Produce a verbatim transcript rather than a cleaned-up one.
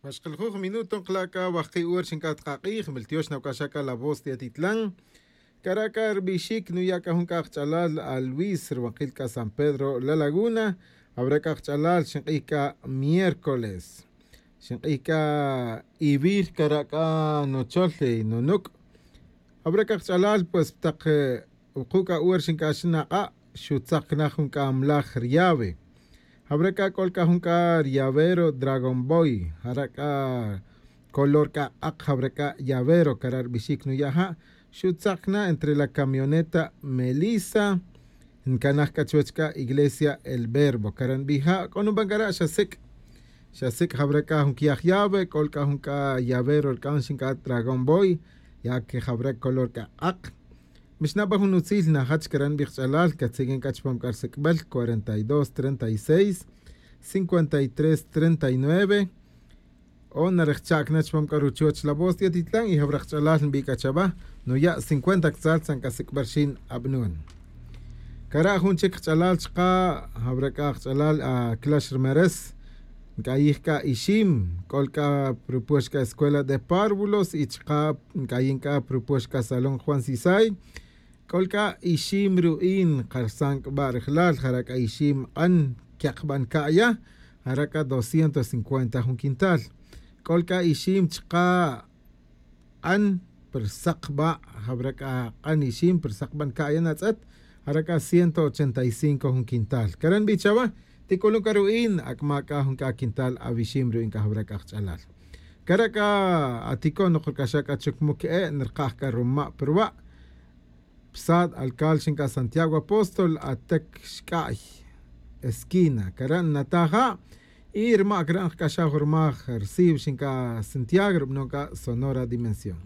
Xkalajuj minuto nkala' c'a wajki' hora xinc'at kak'ij miltiox na wac'axa c'a la voz de atitlan. Cara' c'a rbixic nuya' c'a jun c'a kach'alal a luis rwakil c'a san pedro la laguna. Jawra c'a kach'alal xink'ij c'a miércoles, xink'ij c'a ivir cara' c'a nuchol nunuc'. Jawra c'a kach'alal pues tak wuku' c'a hora xinc'ax nak'a' xutzak na jun c'a mlaj riave. Jawra c'a c'ol c'a jun c'a riavero dragon boy jara' c'a color c'a k'ak jawra c'a llavero cara' rbixic nuya' ja'. Xutzak na entre la camioneta melisa ncanaj c'a chuwech c'a iglesia el verbo cara' nbij ja' c'o nuban cara' xa sic'. Xa sic' jawra c'a jun quiyaj llave c'ol c'a jun c'a llavero rc'an xinc'a dragón boy ya que jawra color c'a k'ak. Mixnaba jun utzil najach cara' nbij kach'alal catziq'uin c'a chupam c'a rsic'bel cuarenta y dos treinta y seis cincuenta y tres treinta y nueve. O narejcha'c na chupam c'a ruchuoch la voz ti'atitlan y jawra kach'alal nbi c'a chaba nuya' cincuenta ktzal tzan c'a sic'bel xin abnun. Cara' jun chic kach'alal chka' jawra c'a kach'alal aclax rmeres. Nc'ayij c'a ixim c'ol c'a propuex c'a escuela de párvulos y chka' nc'ayin c'a propuex c'a salón juan sisay. C'ol c'a ixim ru'in karsan c'a ba' rejlal jara' c'a ixim k'an quekban ca'ya. Jara' c'a doscientos cincuenta jun quintal. C'ol c'a ixim chka' k'an pa rsak ba' jawra c'a k'an ixim pa rsak ban ca'ya natz'et. Jara' c'a ciento ochenta y cinco jun quintal cara' nbi chawa. Tic'ulun c'a ru'in ac'ma' c'a jun c'a quintal awixim ru'in c'a jawra c'a kach'alal. Cara' c'a atico' nok rc'axa c'a chuc muc e'e' nrkaj c'a ruma' pa ruwa'. Psat alcal xinc'a santiago apóstol atec xc'a'y esquina cara' nnataj ja'. Y ruma' cara' nkc'axaj rmaj rsiw xinc'a santiago rubanon c'a sonora dimensión.